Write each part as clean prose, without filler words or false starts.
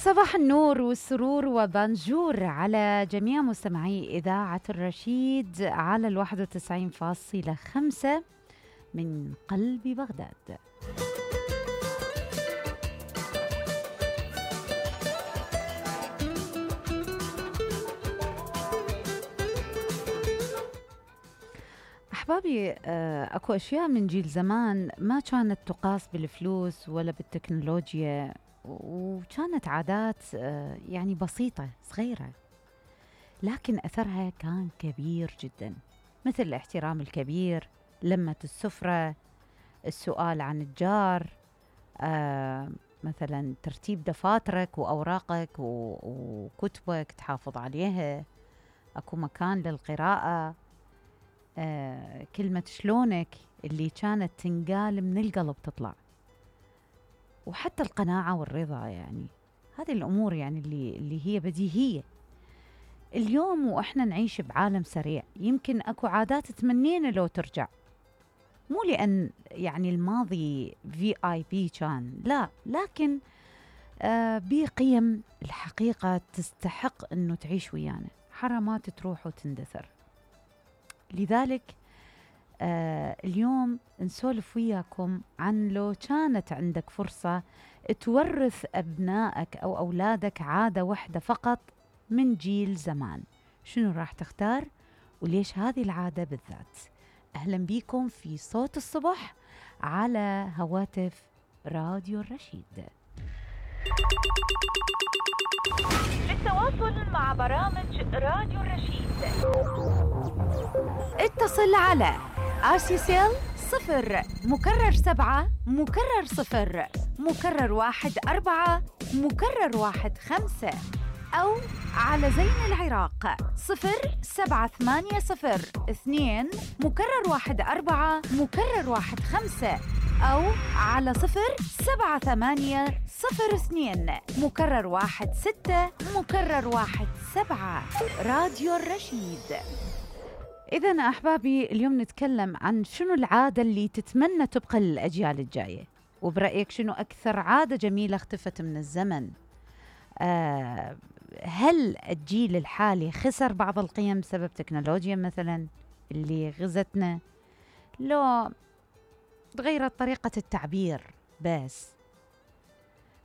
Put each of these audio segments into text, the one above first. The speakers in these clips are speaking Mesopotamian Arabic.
صباح النور والسرور وبانجور على جميع مستمعي إذاعة الرشيد على 91.5 من قلب بغداد. أحبابي، أكو أشياء من جيل زمان ما كانت تقاس بالفلوس ولا بالتكنولوجيا، وكانت عادات يعني بسيطة صغيرة، لكن أثرها كان كبير جدا، مثل الاحترام الكبير، لمة السفرة، السؤال عن الجار، مثلا ترتيب دفاترك وأوراقك وكتبك تحافظ عليها، أكو مكان للقراءة، كلمة شلونك اللي كانت تنقال من القلب تطلع، وحتى القناعة والرضا، يعني هذه الأمور يعني اللي هي بديهية. اليوم وإحنا نعيش بعالم سريع، يمكن أكو عادات تمنينا لو ترجع، مو لأن يعني الماضي VIP كان، لا، لكن بقيم الحقيقة تستحق أنه تعيش ويانا، حرامات تروح وتندثر. لذلك اليوم نسولف وياكم عن لو كانت عندك فرصة تورث أبنائك أو أولادك عادة واحدة فقط من جيل زمان، شنو راح تختار وليش هذه العادة بالذات؟ أهلا بكم في صوت الصبح على هواتف راديو الرشيد. للتواصل مع برامج راديو الرشيد اتصل على RCCL 0 مكرر 7 مكرر 0 مكرر 1 4 مكرر 1 5، أو على زين العراق 07802 مكرر 1 4 مكرر 1 5، أو على 07802 مكرر 1 6 مكرر 1 7. راديو الرشيد. إذن أحبابي، اليوم نتكلم عن شنو العادة اللي تتمنى تبقى للأجيال الجاية، وبرأيك شنو أكثر عادة جميلة اختفت من الزمن؟ هل الجيل الحالي خسر بعض القيم بسبب تكنولوجيا مثلا اللي غزتنا؟ لو تغيرت طريقة التعبير بس؟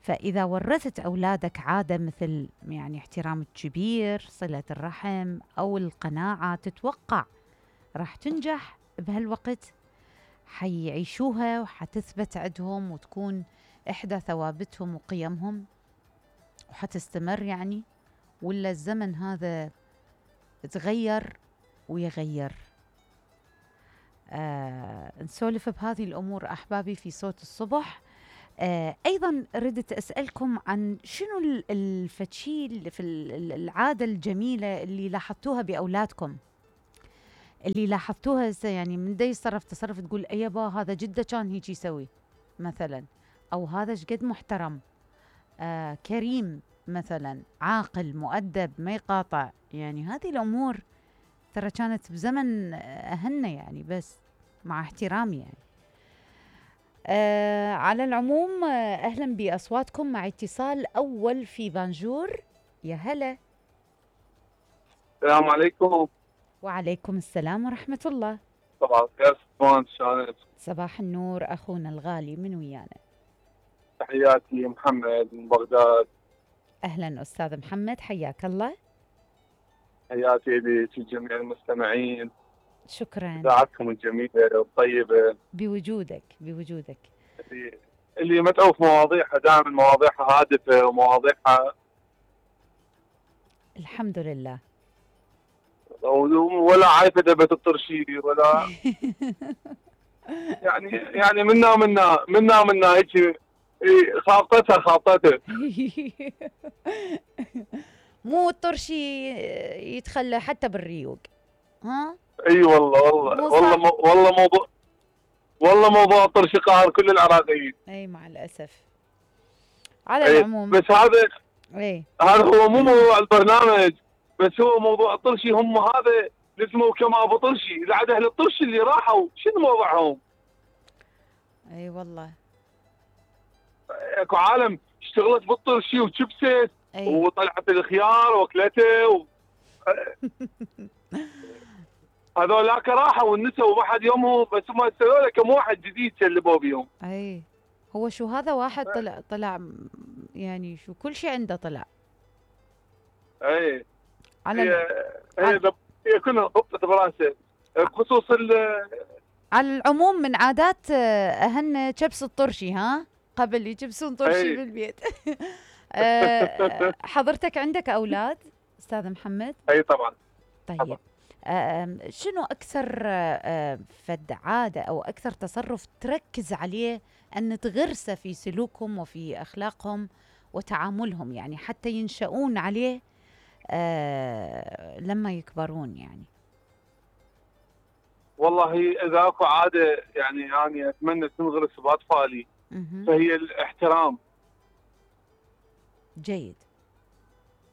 فإذا ورثت أولادك عادة مثل يعني احترام الكبير، صلة الرحم، أو القناعة، تتوقع راح تنجح بهالوقت؟ حيعيشوها وحتثبت عندهم وتكون إحدى ثوابتهم وقيمهم وحتستمر يعني؟ ولا الزمن هذا تغير ويغير؟ نسولف بهذه الأمور أحبابي في صوت الصبح. أيضا ردت أسألكم عن شنو الفتشيل في العادة الجميلة اللي لاحظتوها بأولادكم، اللي لاحظتوها يعني من دا يتصرف تصرف تقول أيبا هذا جدا كان هيك يسوي مثلا، أو هذا شقد محترم، كريم مثلا، عاقل، مؤدب، ما يقاطع. يعني هذه الأمور ترى كانت بزمن أهلنا يعني، بس مع احترامي يعني. على العموم أهلا بأصواتكم مع اتصال أول في بانجور. يا هلا. السلام عليكم. وعليكم السلام ورحمة الله. صباح الخير صفوان، شلونك؟ صباح النور أخونا الغالي، من ويانا؟ تحياتي محمد من بغداد. أهلا أستاذ محمد، حياك الله. تحياتي لك جميع المستمعين. شكرا. إذاعتكم الجميلة والطيبة. بوجودك. اللي متعوف مواضيعها دائما مواضيعها هادفة ومواضيعها الحمد لله، ولا عايفة دبة الطرشي ولا يعني منا هيك خابطتها مو الطرشي يتخلى حتى بالريوق. ها اي والله موضوع الطرشي قاهر كل العراقيين. اي مع الاسف. على العموم بس هذا هو مو موضوع البرنامج، بس هو موضوع الطرشي. هم هذا اسمه كما ابو طرشي، العاده اهل الطرشي اللي راحوا شنو موضوعهم؟ اي والله اكو عالم اشتغلت بالطرشي وشبست اي وطلعت الخيار واكلته هذولاك راحوا والنسوا وما حد يومهم، بس هم ارسلوا له كم واحد جديد شلبوا بيهم. اي هو شو هذا واحد طلع يعني شو كل شيء عنده طلع. اي على هي كلها ضبطت براسه بخصوص على العموم من عادات اهلنا كبس الطرشي، ها قبل يكبسون طرشي بالبيت. حضرتك عندك اولاد استاذ محمد؟ اي طبعا. طيب طبعا. شنو اكثر فد عاده او اكثر تصرف تركز عليه ان تغرسه في سلوكهم وفي اخلاقهم وتعاملهم، يعني حتى ينشؤون عليه لما يكبرون يعني؟ والله اذا اكو عاده يعني اتمنى تنغرس باطفالي فهي الاحترام. جيد.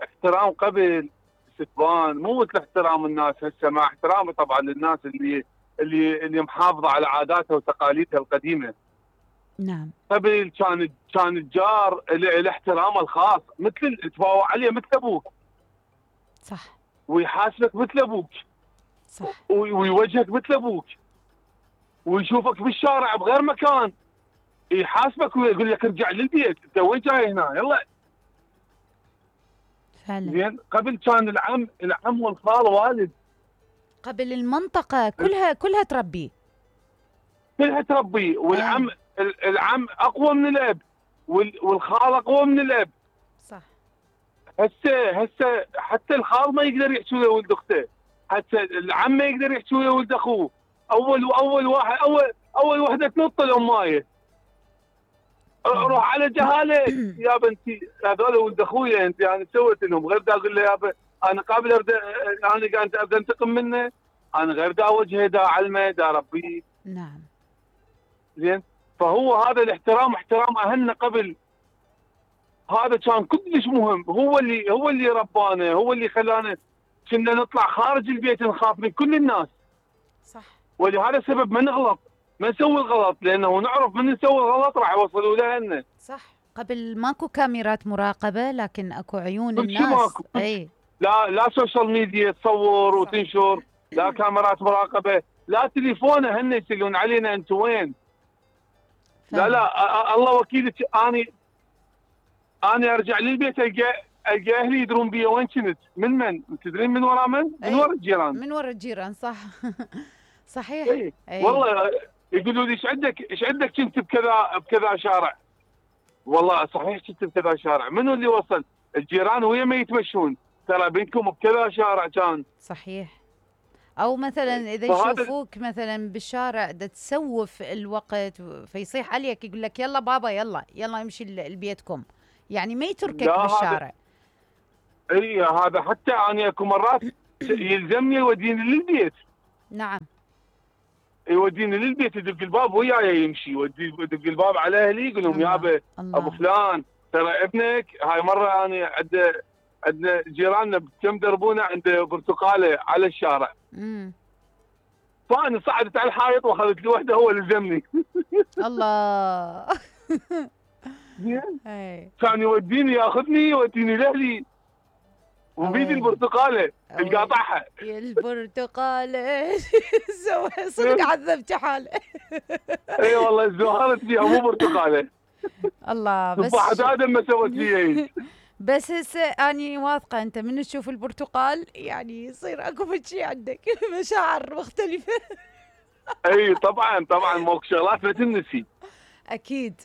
احترام قبل استثبان، مو مثل احترام الناس هسه، مع احترامي طبعا للناس اللي محافظه على عاداتها وتقاليدها القديمه. نعم. قبل كان الجار له احترامه الخاص، مثل تفاوض عليه مثل ابوك. صح. ويحاسبك مثل ابوك. صح. ويوجهك مثل ابوك. ويشوفك بالشارع بغير مكان يحاسبك ويقول لك ارجع للبيت، انت وين جاي هنا؟ يلا. فعلا. زين. قبل كان العم والخال والد. قبل المنطقة كلها تربيه. كلها تربيه، والعم العم اقوى من الاب، والخال اقوى من الاب. صح. هسه حتى الخال ما يقدر يحكي ويا ولد اخته، حتى العم ما يقدر يحكي ويا ولد اخوه. اول وحده تنط الامايه. روح على جهاله يا بنتي، هذول ولد اخويا انت يعني سويت لهم، غير دا اقول له يابا انا قابل انا قاعد ابدا انتقم منه، انا غير دا اوجهه دا اعلمه دا اربيه. نعم. زين. فهو هذا الاحترام، احترام اهلنا قبل، هذا كان كلش مهم. هو اللي ربانا، هو اللي خلانا كنا نطلع خارج البيت نخاف من كل الناس. صح. ولهذا السبب ما نغلط، ما نسوي الغلط، لانه نعرف من نسوي الغلط راح يوصلوا لنا. صح. قبل ماكو كاميرات مراقبه، لكن اكو عيون كل شيء الناس. ماكو. اي لا سوشيال ميديا تصور وتنشر، لا كاميرات مراقبه، لا تليفونه هن يسالون علينا انت وين. لا الله وكيلك، اني ارجع للبيت القى اهلي يدرون بي وين كنت، من تدرين من ورا من ورا الجيران. من ورا الجيران. صح. صحيح. أي. والله يقولوا لي ايش عندك كنت بكذا شارع. والله صحيح كنت بكذا شارع. منو اللي وصل؟ الجيران ويا ما يتمشون، ترى بينكم بكذا شارع كان. صحيح. او مثلا اذا يشوفوك مثلا بالشارع دا تسوف الوقت فيصيح عليك يقول لك يلا بابا يلا يمشي لبيتكم، يعني ما يتركك بالشارع. اي هذا حتى انا اكو مرات يلزمني يوديني للبيت. نعم. يوديني للبيت، يدق الباب وياي يمشي، يدق الباب على اهلي يقول لهم يابا ابو فلان ترى ابنك هاي مره انا عندنا جيراننا كم دربونا عند برتقاله على الشارع. فانا صعدت على الحائط واخذت لي وحده، هو لزمني. الله. كان ياخذني يوديني لاهلي وبيدي البرتقاله القاطعها. البرتقاله صدق عذبت حاله. اي والله زهرت فيها مو برتقاله. الله. بس بعد ادم ما سوت فيها. بس هسه اني واثقه انت من تشوف البرتقال يعني يصير اكو شيء عندك مشاعر مختلفه. اي طبعا ماكو شغلات ما تنسي. اكيد.